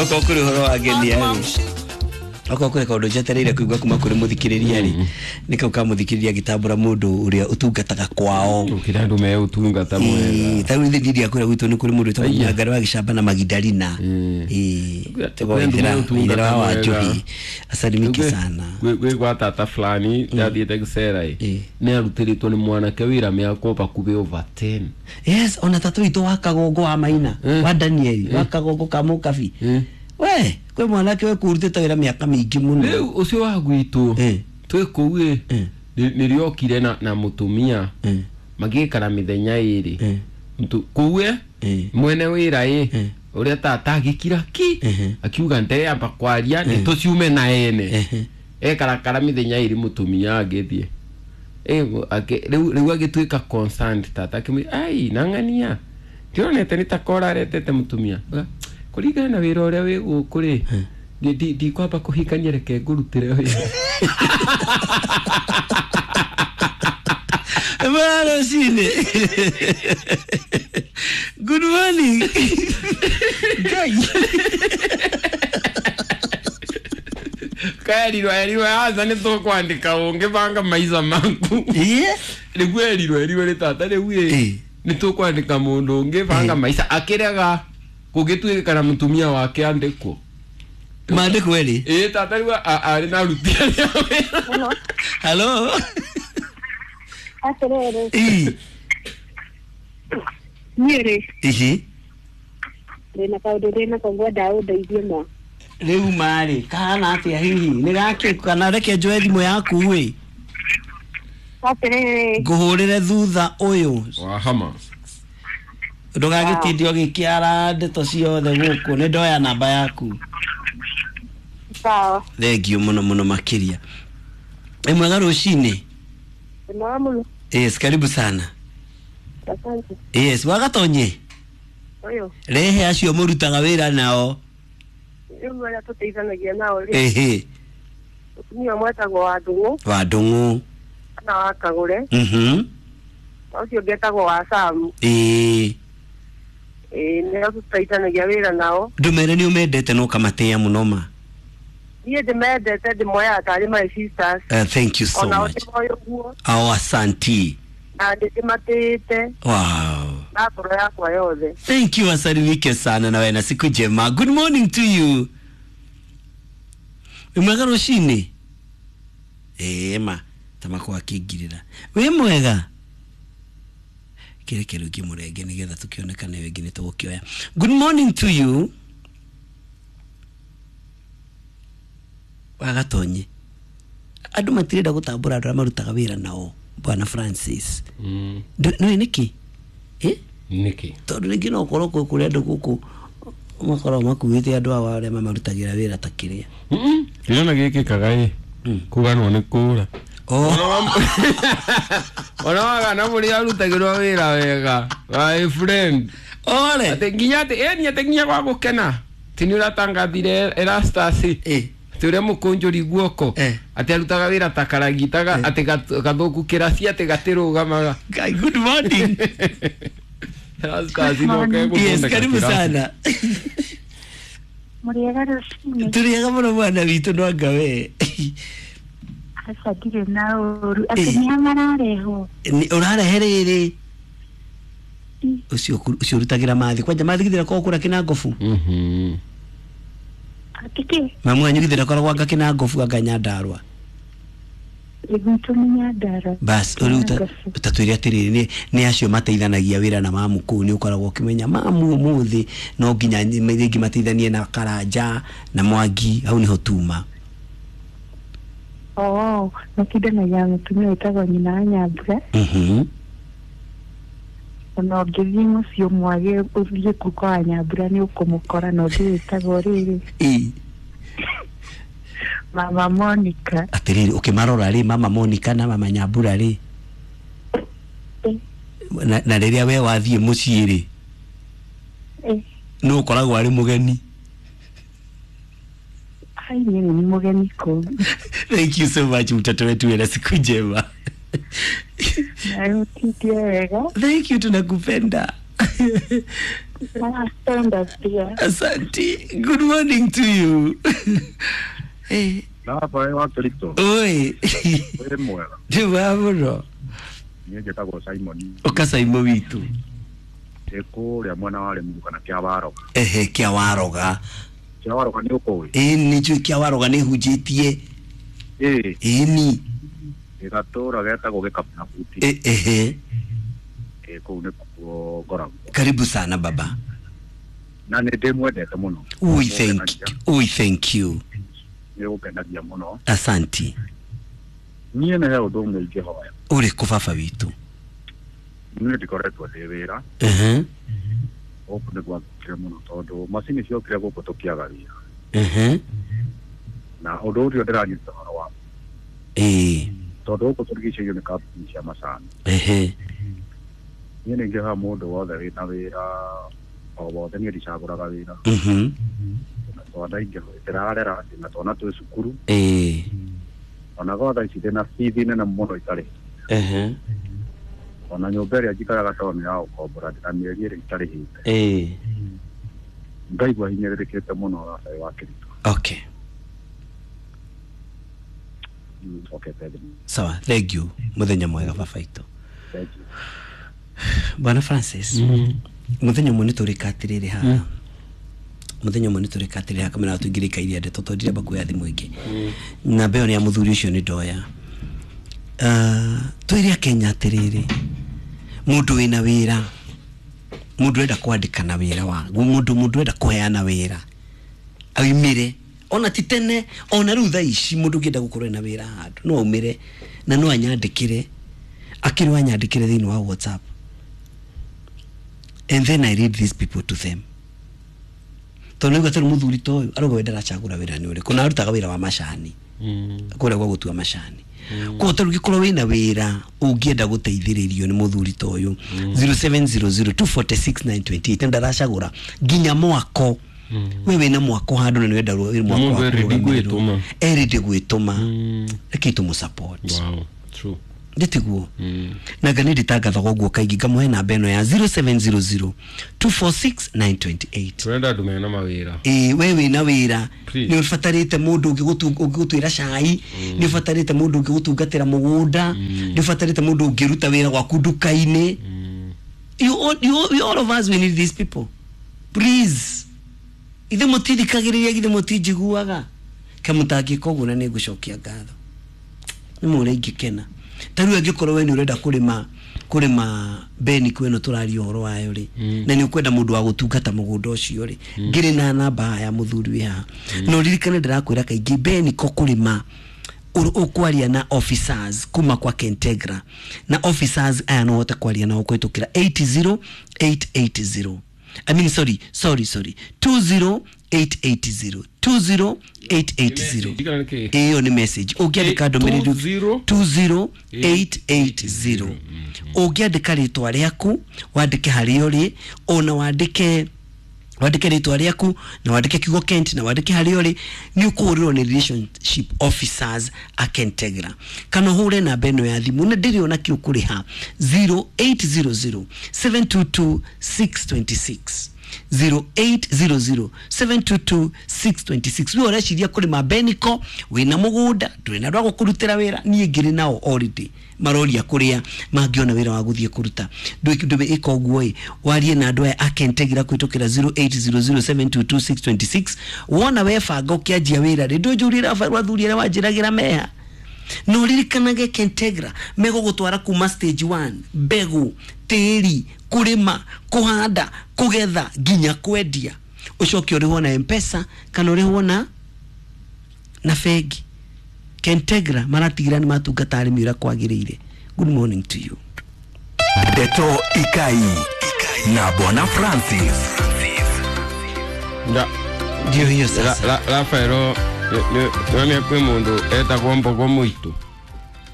Okorwo kũrĩ ũhoro wa ngenia rĩ, okorwo kũrĩ kaũndũ njetereire kũigua kuma kũrĩ mũthikĩrĩria rĩ, nĩ kau ka mũthikĩrĩria agĩtambũra mũndũ ũrĩa ũtungataga kwao. Ukira andu me utungata mwega. Ta rĩu ithuĩ ndiria kũrĩa gwitũ nĩ kũrĩ mũndũ wĩtagwo Aya. Nyangari wa Gĩcamba na Magidalina. Tagwo Kwĩ andũ me Ithera ũtungata wa mwega. Wanjohi, asalimike sana. Gwĩ gwa tata fulani ndathiĩte gũcera ĩ, nĩ arutĩrĩtwo nĩ mwanake wĩra mĩaka bakubĩ over 10. Yes, ona tatu witũ wa Kagongo wa Maina, wa Daniel wa Kagongo ka Mũkabi, we kwĩ mwanake we kũrutĩte wĩra mĩaka mĩingĩ mũno. Rĩu ũcio wa gwitũ twĩ kũu ĩ, nĩrĩokire na mũtumia, magĩikara mĩthenya ĩrĩ. Kũu ĩ, mwene wĩra ĩ, ũrĩa tata agĩkira ki, akiuga ndeamba kwaria nĩ tũciume na ene. Ekarakara mĩthenya ĩrĩ, mũtumia agĩthiĩ. Rĩu agĩtuĩka concerned, tata akĩmwĩra, ai nang'ania ndĩronete nĩ ta koraretete mũtumia. Uga, kũringana na wĩra ũrĩa wĩ gũkũ rĩ, ndikwamba kũhikania, reke ngũrutĩre wĩra. Bwana Shine. Good morning. Ngai. Kerirwo erirwo aca nĩ tũkwandĩka ũngĩbanga maica maku. Rĩu erirwo nĩ tata rĩu ĩ, nĩ tũkwandĩka mũndũ ũngĩ banga maica, akĩrega kũgĩtuĩka na mũtumia wake andĩkwo. Maandĩkwo erĩ. Ĩ, tata rĩu arĩ na aruti arĩa wĩra. Hello. Hello. Atĩrĩrĩ, Ĩ. niĩ rĩ, Ihi. ndĩna kaũndũ ndĩnako ngwendaga ũndeithie ma. Rĩu marĩ kahana atĩa hihi? Nĩ gakĩ kana reke njoe thimũ yaku ĩ. Atĩrĩrĩ, Ngũhũrĩre thutha ũyũ. Wahama. Ndũgagĩtinde ũgĩkĩara ndeto ciothe gũkũ. Nĩ ndoya namba yaku. Sawa. Thank you mũno mũno makĩria. Ĩ, mwega rũcinĩ. Ndĩmwega mũno. Yes, karibu sana. Asante. Yes, wagatonye. Ũyũ, Rehe acio mũrutaga wĩra nao. rĩu arĩa tũteithanagia nao rĩ, mũtumia ũmwe etagwo wa Ndung'u Wa Ndung'u. kana wa Kagũre, na ũcio ũngĩ etagwo wa Samu. Ĩĩ, nĩo tũteithanagia wĩra nao. Ndũmere nĩ ũmendete na ũkamatĩa mũno ma. Niĩ ndĩmendete, ndĩmoyaga tarĩ my sisters. Thank you so Onao much. ndĩmoĩ ũguo, Oh, asanti. na nĩndĩmatĩĩte na ngoro yakwa yothe. Thank you, asalimike sana na wewe na siku njema. Good morning to you. Wĩ mwega rũcinĩ? Ĩĩ ma, ta makwa akĩingirĩra. Wĩ mwega? Kĩreke rĩu ngĩmũrenge nĩgetha tũkĩonekane wĩngĩ nĩ tũgũkĩoya. Good morning to you. Wagatonye. Andũ matirenda gũtambũra andũ arĩa marutaga wĩra nao, Bwana Francis. Nĩũĩ nĩkĩ? Eh? Nĩkĩ? Tondũ rĩngĩ no ũkorwo kwĩ kũrĩ andũ gũkũ makoragwo makuĩte andũ awa arĩa mamarutagĩra wĩra ta kĩrĩa. Ndĩrona gĩkĩkaga ĩ, kũganwo nĩ kũra. Oh. Ona wagana mũrĩa arutagĩrwo wĩra wega, my friend. Ore. Atĩ nginya atĩ ĩni atĩ nginya gwa gũkena atĩ nĩ ũratangathire Erastus atĩ ũrĩa mũkũnjũri guoko, atĩ arutaga wĩra ta karagitaga, atĩ gathũku kĩraci atĩ gatĩrũgamaga. Guy, good morning. Erastus no Yes, kegũthondeka karibu kĩraci. sana. Mũrĩega rũcinĩ. Tũrĩega mũno mwana witũ, no anga we? Aca, ndirĩ na ũru. Atĩ nĩa mararehwo? Ũrarehe rĩrĩ ũcio ũcio ũrutagĩra mathi kwanja mathi githĩra korwo kũrĩa kĩna ngobu. Atĩ kĩ? Mamu wanyu githĩra koragwo anga kĩna ngobu, anga Nyandarũa? Gwitũ nĩ Nyandarũa. Bas rĩu tatwĩre atĩrĩrĩ, nĩ acio mateithanagia wĩra na mamu kũu, nĩ ũkoragwo ũkĩmenya mamu ũmũthĩ no nginya rĩngĩ mateithanie na Karanja na Mwangi, hau nĩho tuma. Oo, matindanagia na mũtumia wĩtagwo nyina wa Nyambura. Ona ũngĩthiĩ mũciĩ ũmwage ũthiĩ kũu kwa Nyambura nĩ ũkũmũkora, na ũngĩ wĩtagwo rĩrĩ, Mama Monica. Atĩrĩrĩ, ũkĩmarora rĩ, mama Monica na mama Nyambura rĩ, na rĩrĩa we wathiĩ mũciĩ rĩ, nũ ũkoragwo arĩ mũgeni? Ai, niĩ nĩ mũgeni kũu. Thank you so much, mtoto wetu, wena siku njema. Nawe ũtindie wega. Thank you, tunakupenda. Stand up dear. Asante. Good morning to you. Eh. Baba wa Kristo. Oi. Wĩ mwega. Ndĩ mwega mũno. Niĩ njĩtagwo Simon. Ũka Simon witũ. Ndĩ kũrĩa mwena wa Rĩmuru kana Kĩawaroga. Ehe, Kĩawaroga. Kĩawaroga nĩ ũkũĩ? Ĩĩ nĩ njũĩ Kĩawaroga nĩ hunjĩtie. Ĩĩ. Ĩni. Gatũra getagwo Gĩkabunabuti. Ehe. Ĩĩ kũu nĩkuo ngoragwo. Karibu sana baba. Na nĩ ndĩmwendete mũno. We thank you. We thank you. Nĩ ũkenagia mũno. Asanti. Niĩ nĩ he ũndũ ũmwe ingĩhoya. Ũrĩkũ baba witũ? Niĩ ndikoretwo ndĩ wĩra. Ehe. Gũkũ nĩ gwathũkire mũno tondũ macini ciokire gũkũ tũkĩaga wĩra. Ehe. Na ũndũ ũcio ndĩranyita ũhoro wa. Ĩĩ. Tondũ gũkũ tũrigicĩirio nĩ kambuni cia macani. Ehe. Niĩ nĩ ingĩhoya mũndũ wothe wĩna wĩra o wothe, niĩ ndicagũraga wĩra. Mhm. Na twana ingĩ ndĩrarera na twana twĩ cukuru. Ĩĩ. Ona gwa thaa ici ndĩna bithi nene mũno itarĩ. Ehe. Ona nyũmba ĩrĩa njikaraga tondũ nĩ ya gũkombora ndĩna mĩeri ĩrĩ itarĩhĩte. Ĩĩ. Ngaigua hinyĩrĩrĩkĩte mũno Rafael wa Kristo. Okay. Okay, thank you. Sawa, thank you. Muthenya mwega baba itũ. Thank you. Bwana Francis. Muthenya ũmwe nĩtũrĩka atĩrĩrĩ haha. Muthenya ũmwe nĩtũrĩka atĩrĩrĩ haha kamera tũingĩrĩka iria ndeto tondũ ndirenda kuoya thimũ ĩngĩ. Namba ĩyo nĩ ya mũthuri ũcio nĩ ndoya. Twĩre Akenya atĩrĩrĩ, mũndũ wĩna wĩra, mũndũ ũrenda kwandĩkana wĩra wa mũndũ ũrenda kũheana wĩra aumĩre ona ti tene ona rĩu thaa ici mũndũ ũngĩenda gũkorwo ena wĩra handũ no aumĩre na no anyandĩkĩre akĩrwo anyandĩkĩre thĩinĩ wa WhatsApp, and then I read these people to them. Tondũ nĩguo atĩrĩ mũthuri ta ũyũ arauga we ndaracagũra wĩra nĩ ũrĩkũ na arutaga wĩra wa macani kũrĩa gwa gũtua macani. Koguo ta rĩu ũngĩkorwo wĩna wĩra ũngĩenda gũteithĩrĩrio nĩ mũthuri ta ũyũ 0700 246 928 ndaracagũra nginya mwako. We wĩna mwako handũ na nĩwenda mwako Mũndũ e ready gwĩtũma. E ready gwĩtũma. Reke tũmũ support. Wow, true. Ndĩtiguo. Na nga nĩ ndĩtangathaga ũguo kaingĩ ngamũhe namba ĩno ya 0700 246 928. Tũrenda andũ mena mawĩra. Ĩĩ, we wĩna wĩra Please. nĩ ũbatarĩte mũndũ ũngĩgũtuĩra cai, nĩ ũbatarĩte mũndũ ũngĩgũtungatĩra mũgũnda, nĩ ũbatarĩte mũndũ ũngĩruta wĩra gwaku nduka-inĩ. You all of us, we need these people. Please. Ithe mũtithikagĩrĩria, githĩ mũtinjiguaga. Kamũtangĩka ũguo na nĩ ngũcokia ngatho. Nĩ mũrĩa ingĩkena. Ta rĩu angĩkorwo we nĩ ũrenda kũrĩma beni kwĩ ĩno tũraria ũhoro wayo rĩ, na nĩ ũkwenda mũndũ wa gũtungata mũgũnda ũcio rĩ, ngĩrĩ na namba ya mũthuri wĩ haha. Na ũririkane ndĩrakwĩra kaingĩ beni ko kũrĩma ũkwaria na officers kuma kwa Kentegra, na officers aya no ũhote kwaria nao kũhĩtũkĩra 80880. I mean, sorry 20880 20880. Ĩyo nĩ message ũngĩandĩka ndũmĩrĩri 20880. Ũngĩandĩka rĩtwa rĩaku, wandĩke harĩa ũrĩ, ona wandĩke rĩtwa rĩaku na wandĩke kiugo Kent na wandĩke harĩa ũrĩ, nĩ ũkũhũrĩrwo nĩ relationship officers a Kentegra. Kana ũhũre namba ĩno ya thimũ na ndĩrĩ ona kĩ ũkũrĩha 0800 722 626. 0800 722 626. We ũreciria kũrĩma beniko, wĩna mũgũnda, ndũrĩ na andũ a gũkũrutĩra wĩra, niĩ ngĩrĩ nao already maroria kũrĩa mangĩona wĩra wa gũthiĩ kũruta. Ndũĩ ĩka ũguo ĩ, warie na andũ aya a Kentegra kũhĩtũkĩra 0800 722 626. Wona webanga ũkĩanjia wĩra rĩ, ndũnjũrie athuri arĩa wanjĩragĩra meha. Na ũririkanage Kentegra megũgũtwara kuma stage 1, mbegũ, tĩri, kũrĩma, kũhanda, kũgetha nginya kwendia. Ũcoke ũrĩhwo na M-Pesa kana ũrĩhwo na bengi. Kentegra maratigĩra nĩ matungata arĩmi ũrĩa kwagĩrĩire. Good morning to you. Ndeto Ikai na Bwana Francis. Ndio hiyo sasa. Rafaelo nĩ kwĩ mũndũ etagwo Mbogo Mũitũ.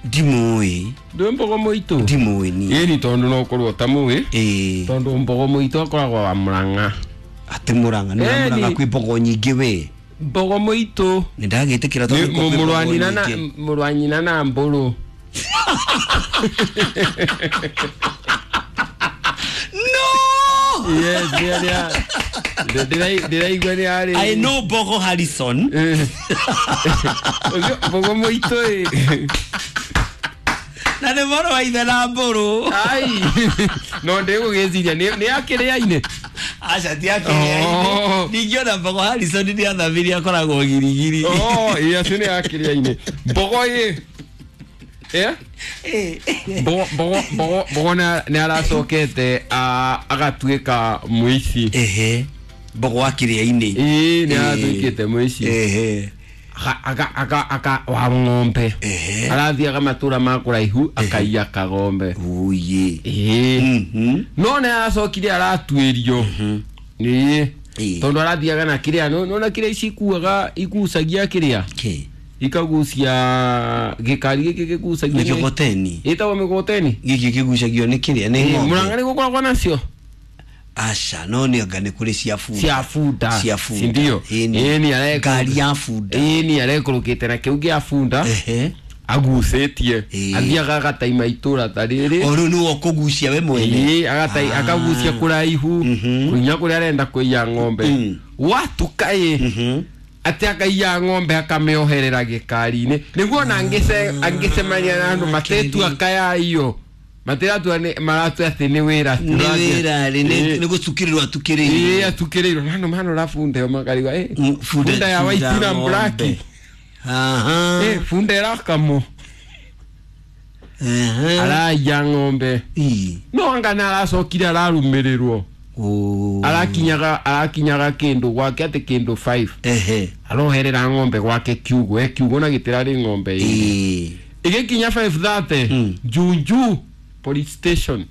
Ndimũĩ. Ndũĩ Mbogo Mũitũ? Ndimũĩ niĩ. Ĩni tondũ no ũkorwo ũtamũĩ. Ĩĩ. Tondũ Mbogo Mũitũ akoragwo wa Mũrang'a. Atĩ Mũrang'a, nĩ wa Mũrang'a kwĩ mbogo nyingĩ we. Mbogo Mũitũ. Nĩ ndagĩtĩkĩra tondũ kwĩ mbogo nyingĩ. Mũrũ wa nyina na Mbũrũ. No! Yes, yeah. Ndĩraigua nĩ arĩ. I know Mbogo Harrison. Ũcio Mbogo mũitũ ĩ. Na nĩ mũrũ wa ithe na mbũrũ. Ai. No ndĩgũgĩciria nĩ akĩrĩa-inĩ. Aca ti akĩrĩa-inĩ. Ningĩona Mbogo Harrison nĩ athamirie akoragwo girigiri. Oh, ĩ acio nĩ akĩrĩa-inĩ. Mbogo ĩ. Mbogo nĩ aracokete agatuĩka mũici. Ehe. Mbogo wa kĩrĩa-inĩ. Ĩĩ nĩ aratuĩkĩte mũici. Ehe. Aka wa ng'ombe. Arathiaga matũra ma kũraihu akaiya kagombe. Uye. Ĩĩ. No nĩ aracokire aratuĩrio. Ĩĩ. Tondũ arathiaga na kĩrĩa nona kĩrĩa ici ikuaga ikucagia kĩrĩa. Ikagucia gĩkari gĩkĩ gĩgucagia mĩgogoteni. Ĩtagwo mĩgogoteni. Gĩkĩ kĩgucagio nĩ kĩrĩa nĩ ng'ombe. Mũrang'a nĩ gũkoragwo nacio. Aca no nĩ anga nĩ kũrĩ cia bunda. Cia bunda. Cia bunda. Ndio. Ĩni ngari ya bunda. Ĩni arekũrũkĩte na kĩu gĩa bunda. Agucĩtie. Athiaga agataima itũra ta rĩrĩ. O rĩu nĩwe ũkũgucia we mwene. Ĩĩ akagucia kũraihu. Kũinya kũrĩa arenda kũiya ng'ombe. Watuka ĩ. Ati akaiya ng'ombe akamĩoherera gĩkari-inĩ nĩguo ona angĩcemania na andũ matetua kayaiyo matiratua maratua atĩ nĩ wĩra nĩ wĩra nĩ gũcukĩrĩrwo atukĩrĩirwo. Ĩĩ atukĩrĩirwo na andũ manora bunda ĩyo makarigwa bunda ya white na black. Aha. Bunda ĩrakamwo. Araiya ng'ombe. No anga nĩ aracokire ararũmĩrĩrwo. Arakinyaga kĩndũ gwake atĩ kĩndũ 5. Ehe. Aroherera ng'ombe gwake kiugo kiugo na gĩtirarĩ ng'ombe ĩĩ. Ĩgĩkinya 5:30 Junju police station.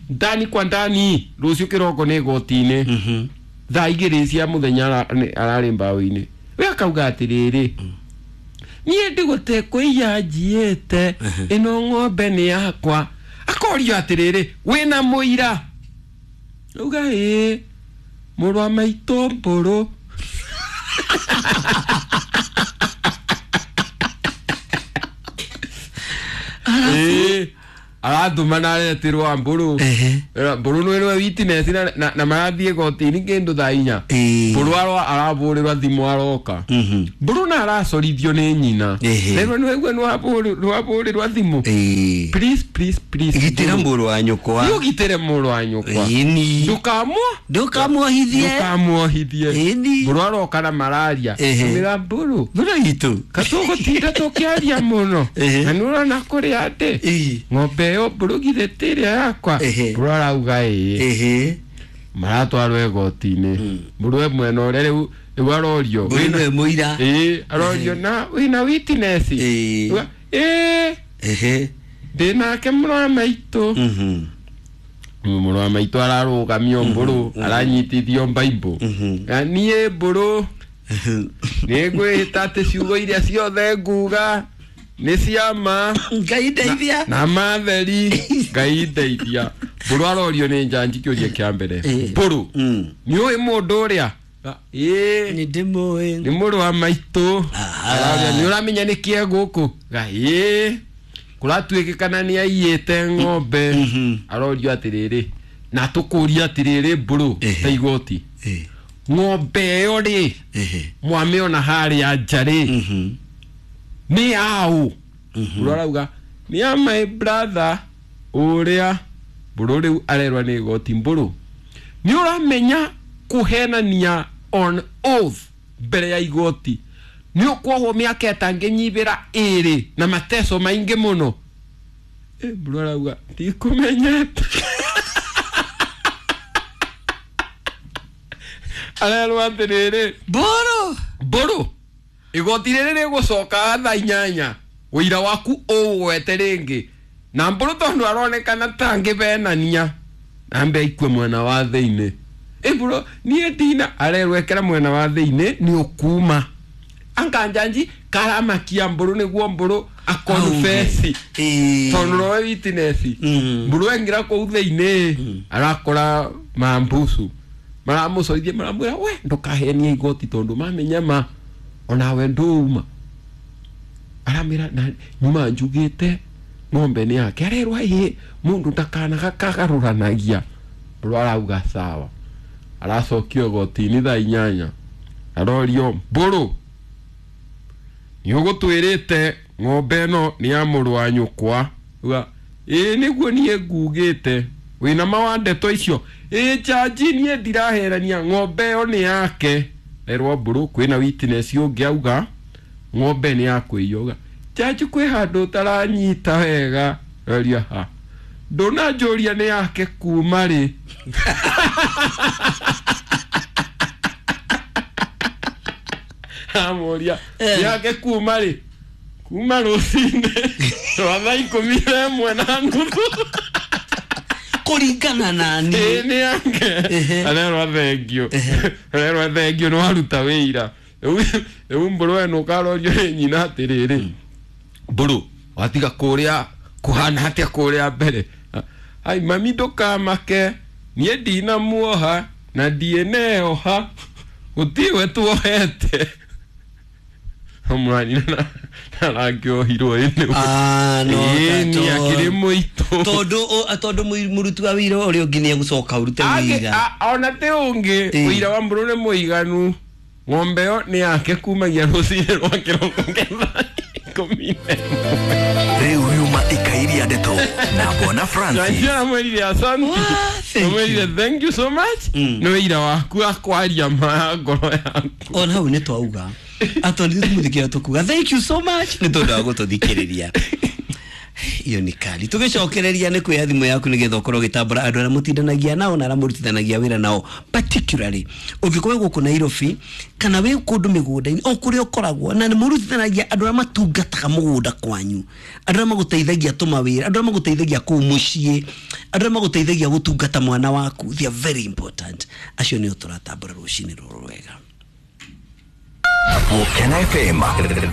Ndani kwa ndani rũciũ kĩroko nĩ igoti-inĩ. Thaa igĩrĩ cia mũthenya ararĩ mbaũ-inĩ. We akauga atĩrĩrĩ, niĩ ndigũte kũiya njiĩte ĩno ng'ombe nĩ yakwa. Akorio atĩrĩrĩ, wĩna mũira? Uga ĩĩ, mũrũ wa maitũ mbũrũ. Ĩĩ aratũma na aretirwo mbũrũ. Mbũrũ nĩwe witness na marathiĩ igoti-inĩ kĩndũ thaa inya. Mbũrũ arabũrĩrwo thimũ aroka. Mbũrũ na aracorithio nĩ nyina. Rĩu nĩwaigua nĩwabũrĩrwo thimũ. Please please please. Gitĩra mũrũ wa nyũkwa. Nĩ ũgitĩre mũrũ wa nyũkwa. Ndũkamwohithie. Ndũkamwohithie. Mbũrũ aroka na mararia. Mĩra mbũrũ. Mbũrũ itũ. Katũgũtinda tũkĩaria mũno. Na nĩũrona kũrĩa atĩ ng'ombe ĩyo mbũrũ githĩ ti ĩrĩa yakwa. Mbũrũ arauga ĩĩ. Maratwarwo igoti-inĩ. Mbũrũ e mwena ũrĩa rĩu arorio. Mbũrũ nĩwe mũira. Ĩĩ arorio na wĩna witness. Ĩĩ. Ndĩ nake mũrũ wa maitũ. Mũrũ wa maitũ ararũgamio mbũrũ aranyitithio mbaimbũ. Niĩ mbũrũ nĩngwĩhĩta atĩ ciugo iria ciothe nguga nĩ cia ma. Ngai ndeithia. Na matheri. Ngai ndeithia. Mbũrũ arorio nĩ njanji kĩũria kĩa mbere. Mbũrũ nĩ ũĩ mũndũ ũrĩa? Ĩĩ nĩ ndĩmũĩ. Nĩ mũrũ wa maitũ. Aroria nĩ ũramenya nĩ kĩe gũkũ? Ĩĩ. Kũratuĩkĩkana nĩ aiyĩte ng'ombe. Arorio atĩrĩrĩ, na tũkũria atĩrĩrĩ mbũrũ ta igoti. Ng'ombe ĩyo rĩ mwamĩona harĩa nja rĩ nĩ yaũ? Mbũrũ arauga nĩ ya my brother ũrĩa. Mbũrũ rĩu arerwa nĩ igoti. Mbũrũ nĩ ũramenya kũhenania on oath mbere ya igoti nĩ ũkuohwo mĩaka ĩtangĩnyibĩra ĩrĩ na mateso maingĩ mũno. Mbũrũ arauga ndikũmenyete. Arerwo atĩrĩrĩ, mbũrũ mbũrũ igoti rĩrĩ rĩgũcoka thaa inyanya ũira waku ũwete rĩngĩ. Na mbũrũ tondũ aronekana ta angĩbenania ambe aikue mwena wa thĩinĩ. Mbũrũ niĩ ndina arerwo ekera mwena wa thĩinĩ nĩ ũkuma. Anga njanji karamakia mbũrũ nĩguo mbũrũ akonfesi tondũ nowe witness. Mbũrũ aingĩra kũu thĩinĩ arakora mambucu maramũcoithia maramwĩra we ndũkahenie igoti tondũ mamenya ma onawe ndũuma. Aramwĩra na nyuma njugĩte ng'ombe nĩ yake. Arerwo ĩĩ mũndũ ndakanaga kagarũranagia. Mbũrũ arauga sawa. Aracokio igoti-inĩ thaa 8. Arorio Mbũrũ, nĩ ũgũtwĩrĩte ng'ombe ĩno nĩ ya mũrũ wa nyũkwa. Uga ĩĩ nĩguo niĩ ngugĩte. Wĩna ma wa ndeto icio? Ĩĩ jaji, niĩ ndiraherania, ng'ombe ĩyo nĩ yake. Erwo Mbũrũ kwĩna witness ũngĩ auga ng'ombe nĩ ya kũiywo. Uga jaji, kwĩ handũ ũtaranyita wega. Roria ha, ndũnanjũria nĩ yake kuma rĩ? Amũria nĩ yake kuma rĩ? Kuma rũcinĩ rwa thaa 11:30. Kũringana na Ĩĩ niĩ. nĩ yake. Arerwo thengio, arerwo thengio nĩ waruta wĩira. Rĩu Mbũrũ ĩno ũkarorio nĩ nyina atĩrĩrĩ, Mbũrũ watiga kũrĩa kũhana atĩa kũrĩa mbere? Ai mami, ndũkamake, niĩ ndinamuoha na ndiĩneoha, gũtirĩ tuohete. Mũranyina narangĩohirwo ĩnĩ. Ah, no, Ĩĩ, ta nĩ akĩrĩ mũitũ. Tondũ mũruti wa wĩra ũrĩa ũngĩ nĩ egũcoka ũrute wĩira. Ona ti ũngĩ. Ĩĩ. Ũira wa Mbũrũ nĩ mũiganu, ng'ombe ĩyo nĩ yake kumagia rũcinĩ rwa kĩroko kĩa thaa 11. Rĩu riuma ikairia ndeto na Bwana Francis. Jaji aramwĩrire asante. Thank you. Amwĩrire thank you so much, nĩ wĩira waku wa kwaria ma ya ngoro yaku. Ona hau nĩ twauga atondũ tũmũthikĩra tũkuga thank you so much nĩ tondũ wa gũtũthikĩrĩria. Iyo nĩ kali. Tũgĩcokereria nĩ kuoya thimũ yaku nĩgetha ũkorwo ũgĩtambũra andũ arĩa mũtindanagia nao na arĩa mũrutithanagia wĩra nao, particularly ũngĩkorwo gũkũ Nairobi kana wĩ kũndũ mĩgũnda-inĩ o kũrĩa ũkoragwo na nĩ mũrutithanagia, andũ arĩa matungataga mũgũnda kwanyu, andũ arĩa magũteithagia tũmawĩra, andũ arĩa magũteithagia kũu mũciĩ, andũ arĩa magũteithagia gũtungata mwana waku, they are very important. Acio nĩo tũratambũra rũcinĩ rũrũ rwega. Gũkena FM.